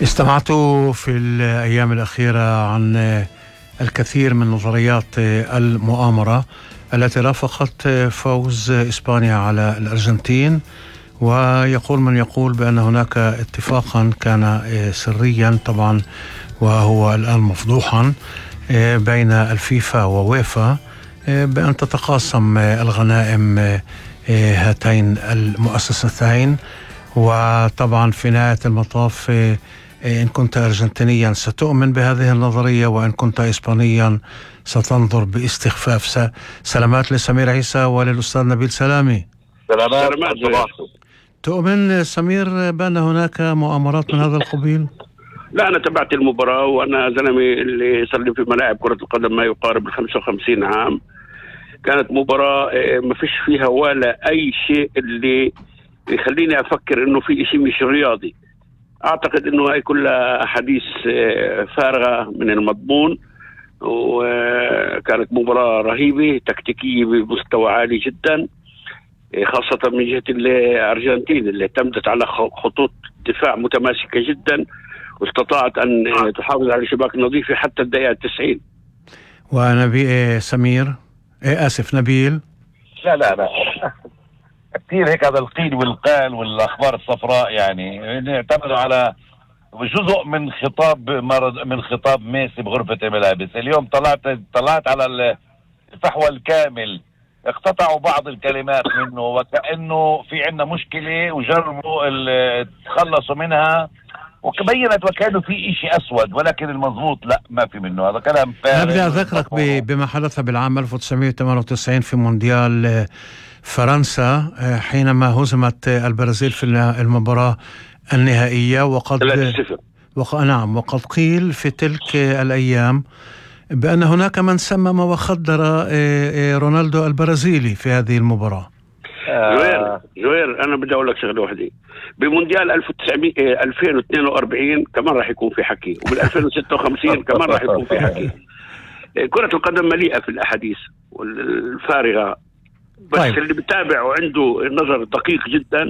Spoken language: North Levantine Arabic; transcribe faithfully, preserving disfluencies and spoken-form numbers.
استمعت في الأيام الأخيرة عن الكثير من نظريات المؤامرة التي رافقت فوز إسبانيا على الأرجنتين، ويقول من يقول بأن هناك اتفاقا كان سريا طبعا وهو الآن مفضوحا بين الفيفا وويفا بأن تتقاسم الغنائم هاتين المؤسستين. وطبعا في نهاية المطاف إن كنت أرجنتينيا ستؤمن بهذه النظرية، وإن كنت إسبانيا ستنظر باستخفاف. سلامات لسمير عيسى وللأستاذ نبيل سلامي. سلامات. تؤمن سمير بأن هناك مؤامرات من هذا القبيل؟ لا، أنا تبعت المباراة، وأنا زلمي اللي صار لي في ملاعب كرة القدم ما يقارب الخمسة وخمسين عام. كانت مباراة ما فيش فيها ولا أي شيء اللي يخليني أفكر إنه في شيء مش رياضي. أعتقد إنه هاي كلها أحاديث فارغة من المضمون، وكانت مباراة رهيبة تكتيكية بمستوى عالي جدا، خاصة من جهة الأرجنتين اللي اعتمدت على خطوط دفاع متماسكة جدا، واستطاعت أن تحافظ على شباك نظيفة حتى الدقيقة التسعين. ونبي سمير إيه آسف نبيل لا لا لا كثير هيك هذا القيل والقال والأخبار الصفراء، يعني اعتمدوا على جزء من خطاب من خطاب ميسي بغرفة الملابس. اليوم طلعت طلعت على الفحوى الكامل، اقتطعوا بعض الكلمات منه وكأنه في عندنا مشكلة وجربوا تخلصوا منها، وبينت وكأنه في إشي أسود، ولكن المضبوط لا ما في منه، هذا كلام فارغ. بدي أذكرك بما حدث بالعام ألف وتسعمائة وثمانية وتسعين في مونديال فرنسا حينما هزمت البرازيل في المباراة النهائية، وقد وق... نعم وقد قيل في تلك الأيام بأن هناك من سمم وخدر رونالدو البرازيلي في هذه المباراة. جوير جوير أنا بدي أقول لك شغلة واحدة، بمونديال ألف وتسعمائة ألفين واثنين وأربعين كمان راح يكون في حكي، وبال ألفين وستة وخمسين كمان راح يكون في حكي. كرة القدم مليئة في الأحاديث والفارغة، بس طيب. اللي بتابع وعنده نظر دقيق جدا